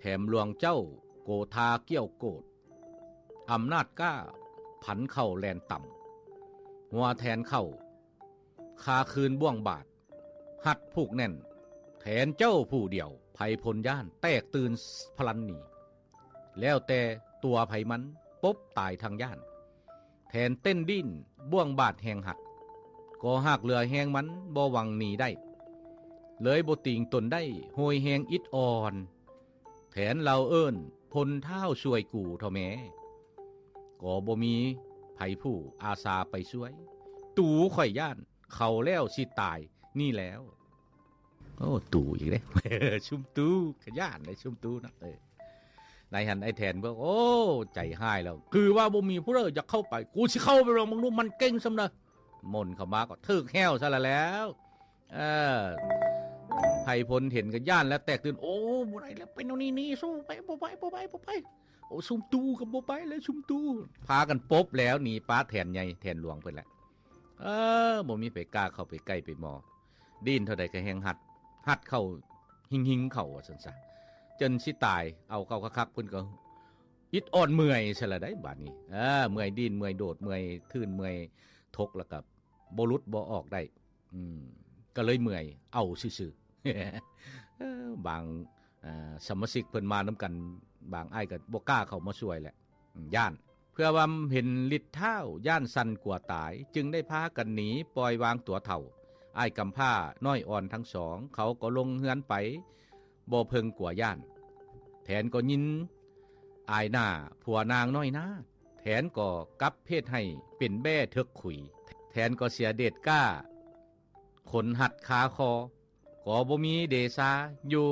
ແຖມຫຼວງເຈົ້າໂກທາກ້ຽວໂກດ, ອຳນາດກ້າຜັນເຂົ້າແລ່ນຕ່ຳ, ຫົວແຖນເຂົ້າຄາຄືນບ້ວງບາດ, ຮັດຜູກແໜ້ນແຖນເຈົ້າຜູ້ດຽວ, ໃຜພົນຢ້ານແຕກຕື່ນພະລັນໜີ, ແລ້ວແຕ່ຕົວໃຜມັນປົບຕາຍທັງຢ້ານ. ແຖນເຕັ້ນດີ້ນບ້ວງບາດແຮງຫັດ, ກໍຫາກເຫຼືອແຮງມັນບໍ່ຫວັງໜີໄດ້, ເລີຍບໍ່ຕີງຕົນໄດ້ໂຫຍແຮງອິດອ່ອນ. ແຖນລາວເອີ້ນພົນທ້າວຊ່ວຍກູເຖົ້າແມ່, ກໍບໍ່ມີໃຜຜູ້ອາສາໄປຊ່ວຍ. ຕູຂ້ອຍຢ້ານເຂົາແລ້ວຊິຕາຍນີ້ແລ້ວ. ໂອ້ ຕູອີກເດ້ ຊຸມຕູກະຢ້ານເດ້ ຊຸມຕູເນາະ. ເອີ ໃນຫັ້ນອ້າຍແຖນບອກ ໂອ້ ໃຈຮ້າຍແລ້ວ, ຄືວ່າບໍ່ມີຜູ້ໃດຢາກເຂົ້າໄປ, ກູຊິເຂົ້າໄປລອງເບິ່ງດູ ມັນເກັ່ງສ່ຳໃດ. ມົນເຂົ້າມາກໍຖືກແຮ້ວຊະລະແລ້ວ. ເອີ ໄພພົນເຫັນກໍຢ້ານແລ້ວແຕກຕື່ນ, ໂອ້ ບໍ່ໄດ້ແລ້ວ ເປັນແນວນີ້ໜີ ສູ້ໄປ ບໍ່ໄປ ບໍ່ໄປ ບໍ່ໄປ. ໂອ້ ຊຸມຕູກໍບໍ່ໄປແລ້ວ ຊຸມຕູ. ພາກັນປົບແລ້ວ ໜີປະແຖນໃຫຍ່ແຖນຫຼວງເພິ່ນແຫຼະ. ເອີ ບໍ່ມີໃຜກ້າເຂົ້າໄປໃກ້ໄປໝໍ. ດີ້ນເທົ່າໃດກໍແຮງຮັດ, ຮັດເຂົ້າ ຫິງໆ ເຂົ້າວ່າຊັ້ນຊະ, ຈົນຊິຕາຍ. ເອົາເຂົ້າຄັກໆ ເພິ່ນກໍອິດອ່ອນເມື່ອຍຊະລະໄດ໋ບາດນີ້. ເອີ ເມື່ອຍດີ້ນ ເມື່ອຍໂດດ ເມື່ອຍທື່ນ ເມື່ອຍທົກ ແລ້ວກໍບໍ່ຫຼຸດບໍ່ອອກໄດ້. ອືມ ກໍເລີຍເມື່ອຍເອົາຊື່ໆ. ເອີ ບາງ ເອີ ສະມາຊິກເພິ່ນມານຳກັນ ບາງອ້າຍກໍບໍ່ກ້າເຂົ້າມາຊ່ວຍແຫຼະ ຢ້ານ. ເພື່ອວ່າເຫັນລິດທ້າວ ຢ້ານສັ່ນກົວຕາຍ, ຈຶ່ງໄດ້ພາກັນໜີປ່ອຍວາງຕົວເຖົ້າ. ອ້າຍກຳພ້ານ້ອຍອ່ອນທັງສອງ ເຂົາກໍລົງເຮືອນໄປ ບໍ່ເພິ່ງກົວຢ້ານ. ແຖນກໍຍິນອາຍໜ້າຜົວນາງນ້ອຍນາ, ແຖນກໍກັບເຮັດໃຫ້ເປັນແບ້ເຖິກຂຸຍ. ແຖນກໍເສຍເດດກ້າ ຂົນຮັດຄາຄໍ, ກໍບໍ່ມີເດຊາຢູ່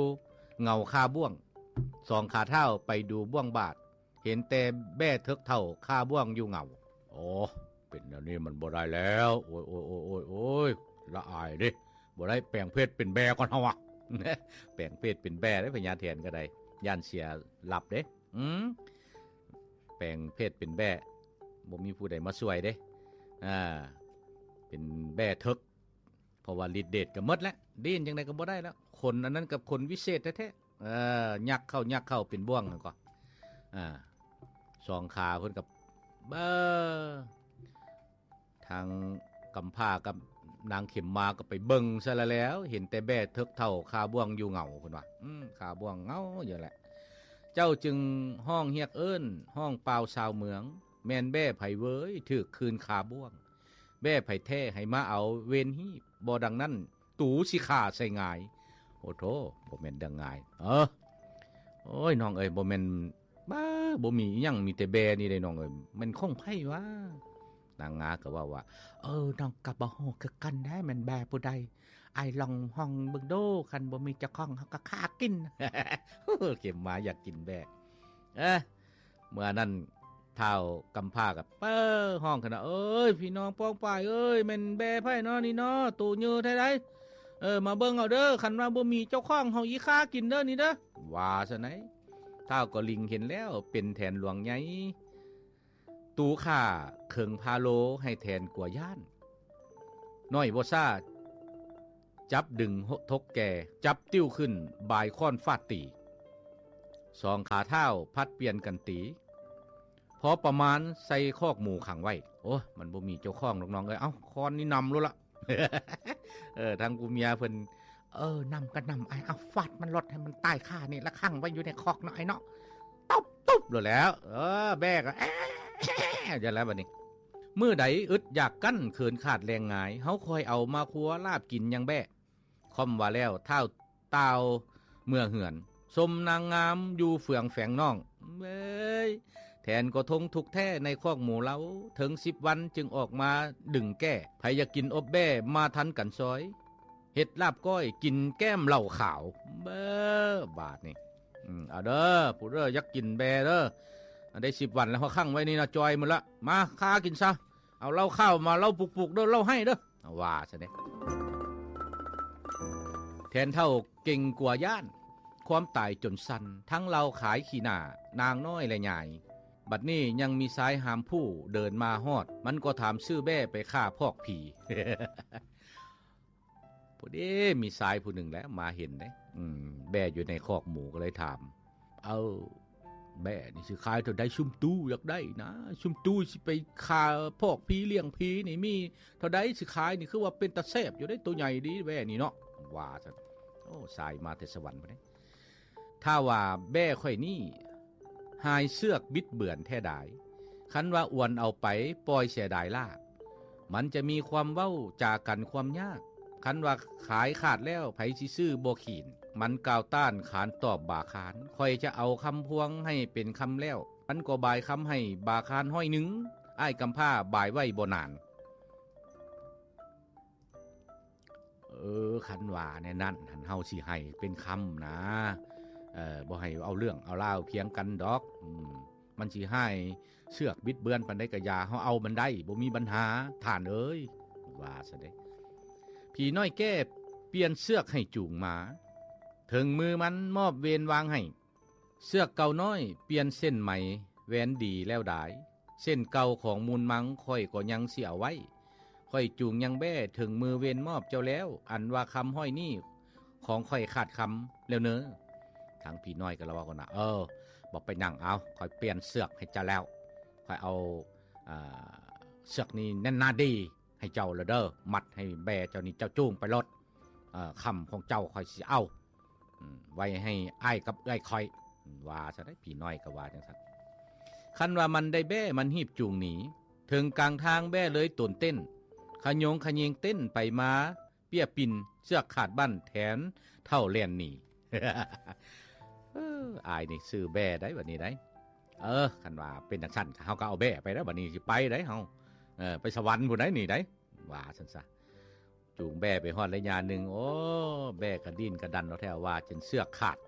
ເຫງົາຄາບ້ວງ. ສອງຂາທ້າວໄປດູບ້ວງບາດ, ເຫັນແຕ່ແບ້ເຖິກເຖົ້າຄາບ້ວງຢູ່ເຫງົາ. ໂອ້ ເປັນແນວນີ້ມັນບໍ່ໄດ້ແລ້ວ. ໂອ້ຍ ໂອ້ຍ ໂອ້ຍ ໂອ້ຍ ລະອາຍເດ້. ບໍ່ໄດ້ ແປງເພດເປັນແບ້ກ່ອນເຮົາອະ. ແປງເພດເປັນແບ້ເດ້ ພະຍາແຖນກໍໄດ້, ຢ້ານເສຍລັບເດ້. ອືມ ແປງເພດເປັນແບ້ ບໍ່ມີຜູ້ໃດມາຊ່ວຍເດ້. ອ່າ ເປັນແບ້ເຖິກ ເພາະວ່າລິດເດດກໍໝົດແລ້ວ, ດີ້ນຈັ່ງໃດກໍບໍ່ໄດ້ແລ້ວ. ຂົນອັນນັ້ນກັບຂົນວິເສດແທ້ໆ. ເອີ ຍັກເຂົ້າ ຍັກເຂົ້າເປັນບ່ວງນັ້ນກໍ ອ່າ ສອງຂາເພິ່ນກໍ ເອີ ທາງກຳພ້າກັບນາງເຂັມມາກໍໄປເບິ່ງຊະລະແລ້ວ, ເຫັນແຕ່ແບ້ເຖິກເຖົ້າຄາບ້ວງຢູ່ເຫງົາ ເພິ່ນວ່າ. ອືມ ຄາບ້ວງເຫງົາຢູ່ແຫຼະ. ເຈົ້າຈຶ່ງຮ້ອງຮຽກເອີ້ນ ຮ້ອງປ່າວຊາວເມືອງ, ແມ່ນແບ້ໃຜເວີຍ ຖືກຄືນຄາບ້ວງ. ແບ້ໃຜແທ້ໃຫ້ມາເອົາເວນຮີບ, ບໍ່ດັ່ງນັ້ນຕູຊິຂ້າໃສ່ຫງາຍ. ໂອ້ໂທ້ ບໍ່ແມ່ນເລື່ອງງ່າຍ. ເອີ ໂອ້ຍ ນ້ອງເອີຍ ບໍ່ແມ່ນ ບ້າ ບໍ່ມີອີ່ຫຍັງ ມີແຕ່ແບ້ນີ້ເດ້ນ້ອງເອີຍ. ແມ່ນຂອງໃຜວະ? ນາງງາກໍເວົ້າວ່າ ເອີ ນ້ອງກໍບໍ່ຮູ້ຄືກັນແດ່ ແມ່ນແບ້ຜູ້ໃດ. ອ້າຍລອງຮ້ອງເບິ່ງດູ, ຄັນບໍ່ມີເຈົ້າຂອງ ເຮົາກໍຂ້າກິນ. ເຂັມມາຢາກກິນແບ້. ເອີ ເມື່ອນັ້ນທ້າວກຳພ້າກໍເປີຮ້ອງຂຶ້ນວ່າ ເອີຍ ພີ່ນ້ອງປ້ອງປາຍເອີຍ, ແມ່ນແບ້ໃຜເນາະນີ້ເນາະ? ໂຕເຍີແທ້ໃດ. ເອີ ມາເບິ່ງເອົາເດີ, ຄັນວ່າບໍ່ມີເຈົ້າຂອງ ເຮົາອີຂ້າກິນເດີນີ້ເດີ. ວ່າຊັ້ນໃດ. ທ້າວກໍລິງເຫັນແລ້ວ ເປັນແຖນຫຼວງໃຫຍ່. ຕູຂ້າເຄິ່ງພາໂລ ໃຫ້ແຖນກົວຢ້ານ. ນ້ອຍບໍ່ຊ້າ ຈັບດຶງທົກແກ່, ຈັບຕິ້ວຂຶ້ນ ບາຍຄ້ອນຟາດຕີ. ສອງຂາທ້າວຜັດປ່ຽນກັນຕີ ພໍປະມານໃສ່ຄອກໝູຂັງໄວ້. ໂອ້ຍ ມັນບໍ່ມີເຈົ້າຂອງດອກນ້ອງເອີຍ. ເອົ້າ ຄ້ອນນີ້ນຳໂລດລະ. ເອີ ທາງຜູ້ເມຍເພິ່ນ ເອີ ນຳກໍນຳ ອ້າຍ ເອົາ ຟາດມັນໂລດ ໃຫ້ມັນຕາຍຄານີ້ລະ, ຂັງໄວ້ຢູ່ໃນຄອກເນາະ ອ້າຍເນາະ. ຕົບ ຕົບໂລດແລ້ວ. ເອີ ແບ້ກໍ ແອ້ ຢູ່ແລ້ວບັດນີ້. ມື້ໃດອຶດຢາກກັ້ນ ເຂີນຂາດແລງງາຍ, ເຮົາຄ່ອຍເອົາມາຄົວລາບກິນຍັງແບ້. ຄ່ອມວ່າແລ້ວ ທ້າວຕ່າວເມືອເຮືອນ, ຊົມນາງງາມຢູ່ເຟືອງແຝງນ້ອງ. ເອີຍ ແຖນກໍທົງທຸກແທ້ໃນຄອກໝູເຮົາ, ເຖິງສິບວັນຈຶ່ງອອກມາດຶງແກ້. ໃຜຢາກກິນອົບແບ້ ມາທັນກັນຊອຍ, ເຮັດລາບກ້ອຍກິນແກ້ມເຫຼົ້າຂາວ. ເບີ ບາດນີ້ ອືມ ເອົາເດີ ຜູ້ເດີຢາກກິນແບ້ເດີ. ໄດ້ສິບວັນແລ້ວ ເຮົາຂັງໄວ້ນີ້ນະ ຈ່ອຍໝົດລະ. ມາ ຄາກິນຊະ. ເອົາເຫຼົ້າຂາວມາ ເຫຼົ້າປຸກໆເດີ ເຫຼົ້າໄຫ້ເດີ. ວ່າຊັ້ນເດ. ແຖນເຖົ້າເກັ່ງກົວຢ້ານຄວາມຕາຍຈົນສັ່ນ, ທັງເລົ່າຂາຍຂີ້ໜ້ານາງນ້ອຍແລະຍາຍ. ບັດນີ້ຍັງມີຊາຍຫາມຜູ້ເດີນມາຮອດ, ມັນກໍຖາມຊື້ແບ້ໄປຂ້າພອກຜີ. ພໍດີມີຊາຍຜູ້ໜຶ່ງແຫຼະມາເຫັນເດ້, ອືມ ແບ້ຢູ່ໃນຄອກໝູ ກໍເລີຍຖາມ ເອີ ແບ້ນີ້ຊິຂາຍເທົ່າໃດ? ຊຸມຕູຢາກໄດ້ນະ ຊຸມຕູຊິໄປຂ້າພອກຜີລ້ຽງຜີນີ້ ມີເທົ່າໃດຊິຂາຍນີ້? ຄືວ່າເປັນຕາແຊບຢູ່ເດ້ ໂຕໃຫຍ່ດີແບ້ນີ້ເນາະ ວ່າຊັ້ນ. ໂອ້ ສາຍມາແຕ່ສະຫວັນພຸ້ນເດ້. ຖ້າວ່າແບ້ຂ້ອຍນີ້ຫາຍເຊືອກບິດເບືອນແທ້ດາຍ, ຄັນວ່າອວນເອົາໄປປ່ອຍເສຍດາຍລາກ, ມັນຈະມີຄວາມເວົ້າຈາກັນຄວາມຍາກ. ຄັນວ່າຂາຍຂາດແລ້ວ ໃຜຊິຊື້ບໍ່ຂີນ? ມັນກ່າວຕ້ານຂານຕອບບາຄານ, ຂ້ອຍຈະເອົາຄຳພວງໃຫ້ເປັນຄຳແລ້ວ. ມັນກໍບາຍຄຳໃຫ້ບາຄານຮ້ອຍໜຶ່ງ, ອ້າຍກຳພ້າບາຍໄວ້ບໍ່ນານ. ເອີ ຄັນວ່າແນວນັ້ນຫັ້ນ ເຮົາຊິໃຫ້ເປັນຄຳນະ ເອີ ບໍ່ໃຫ້ເອົາເລື່ອງເອົາລາວຖຽງກັນດອກ. ອືມ ມັນຊິຫາຍເຊືອກບິດເບືອນປານໃດກະຢ່າ, ເຮົາເອົາມັນໄດ້ ບໍ່ມີບັນຫາ ທ່ານເອີຍ ວ່າຊັ້ນເດ້. ຜີນ້ອຍແກ້ປ່ຽນເຊືອກໃຫ້ຈູງມາ, ເຖິງມືມັນມອບເວນວາງໃຫ້. ເຊືອກເກົ່ານ້ອຍປ່ຽນເສັ້ນໄໝ ແຫວນດີແລ້ວດາຍ, ເສັ້ນເກົ່າຂອງມູນມັງຂ້ອຍກໍຍັງຊິເອົາໄວ້. ຂ້ອຍຈູງຍັງແບ້ເຖິງມືເວນມອບເຈົ້າແລ້ວ, ອັນວ່າຄຳຮ້ອຍນີ້ຂອງຂ້ອຍຂາດຄຳແລ້ວເນີ. ທາງຜີນ້ອຍກໍລະເວົ້າກັນວ່າ ເອີ ບໍ່ໄປຫຍັງ, ເອົາ ຂ້ອຍປ່ຽນເຊືອກໃຫ້ເຈົ້າແລ້ວ, ຂ້ອຍເອົາ ອ່າ ເຊືອກນີ້ແໜ້ນໜາດີໃຫ້ເຈົ້າແລ້ວເດີ, ມັດໃຫ້ແບ້ເຈົ້ານີ້ ເຈົ້າຈູງໄປໂລດ. ເອີ ຄຳຂອງເຈົ້າຂ້ອຍຊິເອົາ ອືມ ໄວ້ໃຫ້ອ້າຍກັບເອື້ອຍຂ້ອຍ ວ່າຊັ້ນເດ້. ຜີນ້ອຍກໍວ່າຈັ່ງຊັ້ນ. ຄັນວ່າມັນໄດ້ແບ້ ມັນຮີບຈູງໜີ, ເຖິງກາງທາງແບ້ເລີຍໂຕນເຕັ້ນ, ຂະໂຍງຂະເຍງເຕັ້ນໄປມາ ເປ້ຍປິ່ນ ເຊືອກຂາດບັ້ນແທນເຖົ້າແລ່ນໜີ. ເອີ ອ້າຍນີ້ຊື້ແບ້ໄດ໋ບັດນີ້ໄດ໋. ເອີ ຄັນວ່າເປັນຈັ່ງຊັ້ນ ເຮົາກໍເອົາແບ້ໄປແລ້ວ ບັດນີ້ຊິໄປໄດ໋ເຮົາ, ເອີ ໄປສະຫວັນພຸ້ນໄດ໋ນີ້ໄດ໋ ວ່າຊັ້ນຊະ. ຈູງແບ້ໄປຮອດໄລຍະໜຶ່ງ, ໂອ້ ແບ້ກະດີ້ນກະດັນເອົາແທ້ວ່າຈົນເຊືອກຂາດ,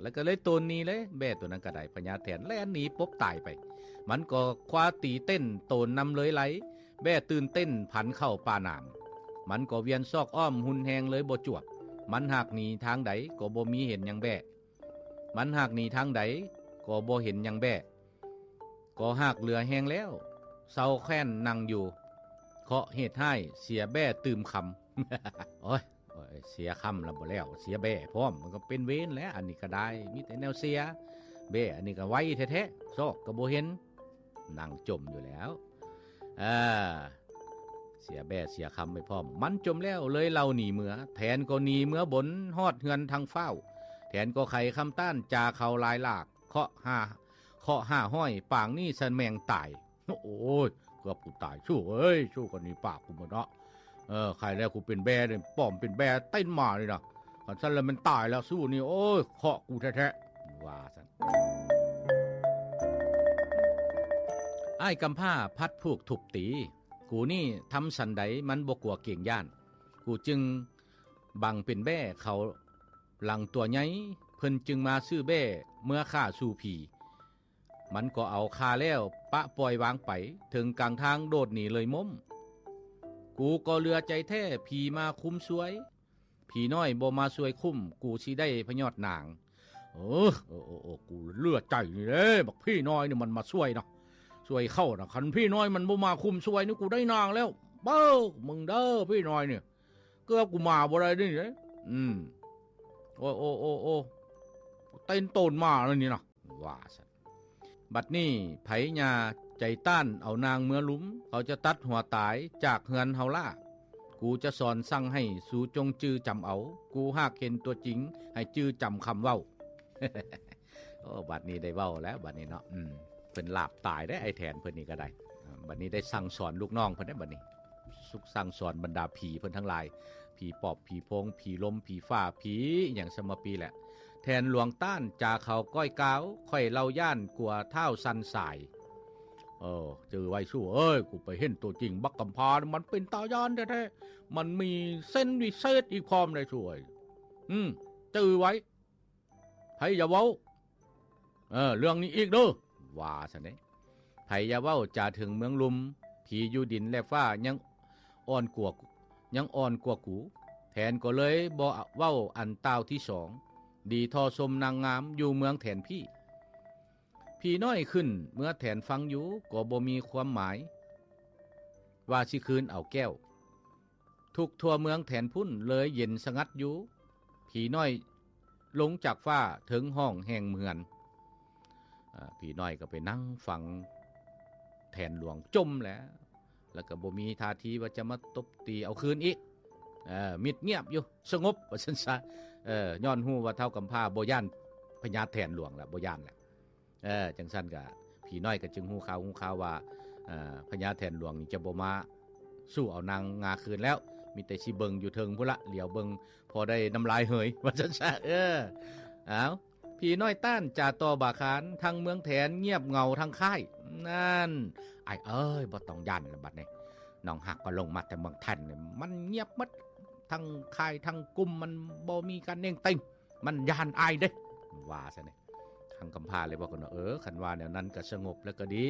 ແລ້ວກໍເລີຍໂຕນໜີເລີຍ. ແບ້ໂຕນັ້ນກໍໄດ້ພະຍາແຖນແລ່ນໜີປົບຕາຍໄປ. ມັນກໍຄວ້າຕີເຕັ້ນໂຕນນຳເລີຍໄຫຼ, ແບ້ຕື່ນເຕັ້ນຜັນເຂົ້າປ່າໜາມ. ມັນກໍວຽນຊອກອ້ອມຮຸນແຮງເລີຍບໍ່ຈວບ. ມັນຫາກໜີທາງໃດກໍບໍ່ມີເຫັນຫຍັງແບ້. ມັນຫາກໜີທາງໃດກໍບໍ່ເຫັນຫຍັງແບ້. ກໍຫາກເຫຼືອແຮງແລ້ວ, ເຊົາແຄ້ນນັ່ງຢູ່, ເຄາະເຫດຮ້າຍເສຍແບ້ຕື່ມຄຳ. ໂອ້ຍ ໂອ້ຍ ເສຍຄຳລະບໍ່ແລ້ວ ເສຍແບ້ພ້ອມ, ມັນກໍເປັນເວນແຫຼະ. ອັນນີ້ກໍໄດ້ ມີແຕ່ແນວເສຍ, ແບ້ອັນນີ້ກໍໄວແທ້ໆ ຊອກກໍບໍ່ເຫັນ, ນັ່ງຈົ່ມຢູ່ແລ້ວ. ເອີ ເສຍແບ້ເສຍຄຳໄປພ້ອມ. ມັນຈົ່ມແລ້ວເລີຍເລົ່າໜີເມືອ, ແຖນກໍໜີເມືອບົນຮອດເຮືອນທັງຟ້າວ. ແຖນກໍໄຂຄຳຕ້ານຈາເຂົາຫຼາຍຫຼາກ, ເຄາະຫ້າ ເຄາະຫ້າຮ້ອຍ ປາງນີ້ສະແມງຕາຍ. ໂອ້ຍ ເກືອບກູຕາຍ ຊູ້ເອີຍ, ຊູ້ກໍໜີປາກກູໝົດເນາະ. ເອີ ໃຄແລ້ວກູເປັນແບ້ເດ້, ປ້ອມເປັນແບ້ເຕັ້ນມານີ້ນະ, ຄັນຊັ້ນແລ້ວແມ່ນຕາຍແລ້ວ ຊູ້ນີ້ ໂອ້ຍ ເຄາະກູແທ້ໆ ວ່າຊັ້ນ. ອ້າຍກຳພ້າພັດຜູກທຸບຕີ, ກູນີ້ທຳສັນໃດມັນບໍ່ກົວເກງຢ້ານ, ກູຈຶ່ງບັງເປັນແບ້ເຂົາຫຼັງຕົວໃຫຍ່, ເພິ່ນຈຶ່ງມາຊື້ແບ້ເມືອຂ້າສູ່ຜີ. ມັນກໍເອົາຂ້າແລ້ວປະປ່ອຍວາງໄປ, ເຖິງກາງທາງໂດດໜີເລີຍມົ້ມ. ກູກໍເຫຼືອໃຈແທ້, ຜີມາຄຸ້ມຊ່ວຍ, ຜີນ້ອຍບໍ່ມາຊ່ວຍຄຸ້ມ, ກູຊິໄດ້ພະຍອດໜາງ. ເອີ ເອີ ເອີ ເອີ ກູເຫຼືອໃຈນີ້ເດ້, ບັກຜີນ້ອຍນີ້ມັນມາຊ່ວຍນະ, ຊ່ວຍເຂົ້ານະ. ຄັນຜີນ້ອຍມັນບໍ່ມາຄຸ້ມຊ່ວຍນີ້, ກູໄດ້ນາງແລ້ວ. ເບິ່ງ ມຶງເດີ ຜີນ້ອຍນີ້, ເກືອບກູມາບໍ່ໄດ້ນີ້ເດ້. ອືມ ໂອ້ ໂອ້ ໂອ້ ໂອ້ ເຕັ້ນໂຕນມາແລ້ວນີ້ນະ ວ່າຊັ້ນ. ບັດນີ້ໃຜຍ່າໃຈຕ້ານເອົານາງເມືອລຸມ, ເຂົາຈະຕັດຫົວຕາຍຈາກເຮືອນເຮົາລ້າ. ກູຈະສອນສັ່ງໃຫ້ສູຈົ່ງຈື່ຈຳເອົາ, ກູຫາກເຫັນຕົວຈິງໃຫ້ຈື່ຈຳຄຳເວົ້າ. ໂອ້ ບັດນີ້ໄດ້ເວົ້າແລ້ວ ບັດນີ້ເນາະ. ອືມ ເພິ່ນລາບຕາຍເດ້ ໄອ້ແຖນເພິ່ນນີ້ກໍໄດ້. ອາ ບັດນີ້ໄດ້ສັ່ງສອນລູກນ້ອງເພິ່ນເດ້ ບັດນີ້ ສັ່ງສອນບັນດາຜີເພິ່ນທັງຫຼາຍ, ຜີປອບ, ຜີໂພງ, ຜີລົມ, ຜີຟ້າ, ຜີອີ່ຫຍັງສະມະປີແຫຼະ. ແຖນຫຼວງຕ້ານຈາເຂົາກ້ອຍກ່າວ, ຂ້ອຍເລົ່າຢ້ານກົວທ້າວສັ່ນສາຍ. ເອີ ຈື່ໄວ້ສູ້ເອີຍ, ກູໄປເຫັນຕົວຈິງບັກກຳພ້າ ມັນເປັນຕາຢ້ານແທ້ໆ, ມັນມີເຊັນວິເສດອີກພ້ອມໄດ໋ສູ່ເອີຍ. ອືມ ຈື່ໄວ້. ໃຜຢ່າເວົ້າ ເອີ ເລື່ອງນີ້ອີກເດີ ວ່າຊັ້ນເດ້. ໃຜຢ່າເວົ້າຈາເຖິງເມືອງລຸ່ມ, ຜີຢູ່ດິນແລະຟ້າຍັງອ່ອນກວ່າ, ຍັງອ່ອນກວ່າກູ. ແຖນກໍເລີຍບໍ່ເວົ້າອັນຕ່າວທີສອງ, ດີທໍ່ຊົມນາງງາມຢູ່ເມືອງແຖນພີ້. ຜີນ້ອຍຂຶ້ນເມືອແຖນຟັງຢູ່ ກໍບໍ່ມີຄວາມໝາຍວ່າຊິຄືນເອົາແກ້ວ. ທຸກທົ່ວເມືອງແຖນພຸ້ນເລີຍເຢັນສະຫງັດຢູ່. ຜີນ້ອຍລົງຈາກຟ້າເຖິງຫ້ອງແຫ່ງເຮືອນ, ອາ ຜີນ້ອຍກໍໄປນັ່ງຟັງແຖນຫຼວງຈົມແລ້ວ ແລ້ວກໍບໍ່ມີທ່າທີວ່າຈະມາຕົບຕີເອົາຄືນອີກ. ເອີ ມິດງຽບຢູ່ ສະຫງົບ ວ່າຊັ້ນຊະ. ເອີ ຍ້ອນຮູ້ວ່າທ້າວກຳພ້າບໍ່ຢ້ານພະຍາແຖນຫຼວງແລ້ວ ບໍ່ຢ້ານແລ້ວ. ເອີ ຈັ່ງຊັ້ນກະ ຜີນ້ອຍກໍຈຶ່ງຮູ້ຂ່າວ ຮູ້ຂ່າວວ່າ ເອີ ພະຍາແຖນຫຼວງນີ້ຈະບໍ່ມາສູ້ເອົານາງງາຄືນແລ້ວ ມີແຕ່ຊິເບິ່ງຢູ່ເທິງພຸ້ນລະ ຫຼຽວເບິ່ງພໍໄດ້ນ້ຳລາຍເຫີຍ ວ່າຊັ້ນຊະ. ເອີ ອ້າວ ຜີນ້ອຍຕ້ານຈາຕໍ່ບາຄານ ທັງເມືອງແຖນງຽບເຫງົາທັງຄ້າຍ. ນັ້ນ ອ້າຍເອີຍ ບໍ່ຕ້ອງຢ້ານລະບັດນີ້ ນ້ອງຮັກກໍລົງມາແຕ່ເມືອງແຖນນີ້ ມັນງຽບໝົດ ທັງຄ້າຍທັງກຸ່ມ ມັນບໍ່ມີການເໜັງເຕັງ ມັນຢ້ານອ້າຍເດ້ ວ່າຊັ້ນນີ້. ທາງກຳພ້າເລີຍບອກກັນວ່າ ເອີ ຄັນວ່າແນວນັ້ນກໍສະຫງົບແລ້ວກໍດີ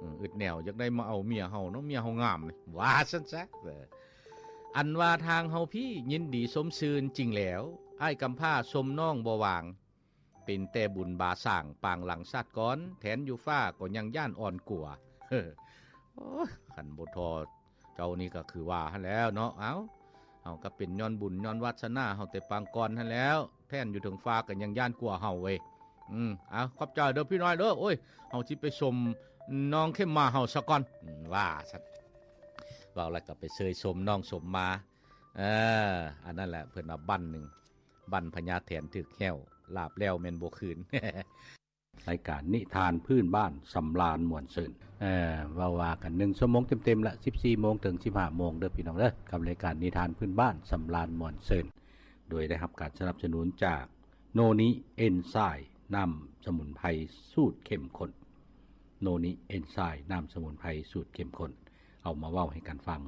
ອືມ ອຶດແນວຢາກໄດ້ມາເອົາເມຍເຮົາເນາະ ເມຍເຮົາງາມນີ້ ວ່າຊັ້ນຊະ. ເອີ ອັນວ່າທາງເຮົາພີ້ຍິນດີຊົມຊື່ນຈິງແລ້ວ ອ້າຍກຳພ້າຊົມນ້ອງບໍ່ຫວ່າງ ເປັນແຕ່ບຸນບາສ້າງປາງຫຼັງຊາດກ່ອນ ແຖນຢູ່ຟ້າກໍຍັງຢ້ານອ່ອນກົວ. ໂອ້ຍ ຄັນບໍ່ທໍ່ ເຈົ້ານີ້ກໍຄືວ່າຫັ້ນແຫຼ້ວເນາະ. ເອົ້າ ເຮົາກໍເປັນຍ້ອນບຸນຍ້ອນວາດສະໜາເຮົາແຕ່ປາງກ່ອນຫັ້ນແຫຼ້ວ ແຖນຢູ່ເທິງຟ້າກໍຍັງຢ້ານກົວເຮົາເວີຍ. ອືມ ເອົາ ຂອບໃຈເດີພີ່ນ້ອຍເດີ ໂອ້ຍ ເຮົາຊິໄປຊົມນ້ອງເຂັມມາເຮົາສາກ່ອນ ອືມ ວ່າຊັ້ນ. ເວົ້າແລ້ວກໍໄປເຊີຍຊົມນ້ອງຊົມມາ. ເອີ ອັນນັ້ນແຫຼະ ເພິ່ນວ່າບັ້ນໜຶ່ງ ບັ້ນພະຍາແຖນຖືກແຮ້ວ ລາບແລ້ວແມ່ນບໍ່ຄືນ. ລາຍການນິທານພື້ນບ້ານສຳລານມ່ວນຊື່ນ ເອີ ເວົ້າວ່າກັນໜຶ່ງຊົ່ວໂມງເຕັມໆລະ ສິບສີ່ໂມງເຖິງສິບຫ້າໂມງເດີພີ່ນ້ອງເດີ ກັບລາຍການນິທານພື້ນບ້ານສຳລານມ່ວນຊື່ນ ໂດຍໄດ້ຮັບການສະໜັບສະໜູນຈາກໂນນິເອັນໄຊ ນ້ຳສະໝຸນໄພສູດເຂັ້ມຂຸ້ນ. ໂນນິເອັນໄຊ ນ້ຳສະໝຸນໄພສູດເຂັ້ມຂຸ້ນ ເອົາມາເວົ້າໃຫ້ກັນຟັງ.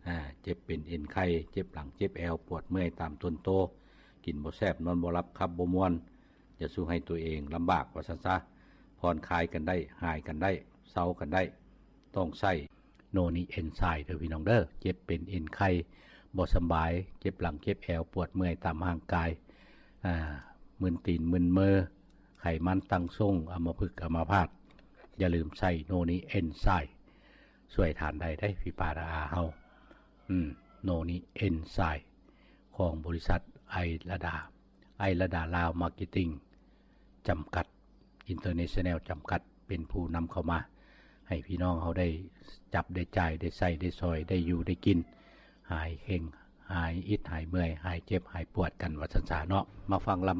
ອາ ເຈັບເປັນເອັນໄຂ່ ເຈັບຫຼັງ ເຈັບແອວ ປວດເມື່ອຍຕາມຕົນໂຕ ກິນບໍ່ແຊບ ນອນບໍ່ຫຼັບ ຂັບບໍ່ມ່ວນ ຈະສູ່ໃຫ້ຕົວເອງລຳບາກວ່າຊັ້ນຊະ ຜ່ອນຄາຍກັນໄດ້ ຫາຍກັນໄດ້ ເຊົາກັນໄດ້ ຕ້ອງໃຊ້ໂນນິເອັນໄຊເດີພີ່ນ້ອງເດີ. ເຈັບເປັນເອັນໄຂ່ ບໍ່ສຳບາຍ ເຈັບຫຼັງເຈັບແອວ ປວດເມື່ອຍຕາມຮ່າງກາຍ ອາ ມຶນຕີນມຶນມື ໄຂມັນຕັ້ງຊົງ ອຳມະພຶກອຳມະພາດ ຢ່າລືມໃຊ້ໂນນິເອັນໄຊ ຊ່ວຍທ່ານໄດ້ເດ້ ພີ່ປ້ານ້າອາເຮົາ. ອືມ ໂນນິເອັນໄຊ ຂອງບໍລິສັດໄອລະດາ ໄອລະດາລາວມາເກັດຕິງ ຈຳກັດ ອິນເຕີເນຊັນແນວ ຈຳກັດ ເປັນຜູ້ນຳເຂົ້າມາ ໃຫ້ພີ່ນ້ອງເຮົາໄດ້ຈັບໄດ້ຈ່າຍ ໄດ້ໃຊ້ໄດ້ສອຍ ໄດ້ຢູ່ໄດ້ກິນ ຫາຍເຄັ່ງ ຫາຍອິດຫາຍເມື່ອຍ ຫາຍເຈັບຫາຍປວດກັນ ວ່າຊັ້ນຊະເນາະ. ມາຟັງລຳ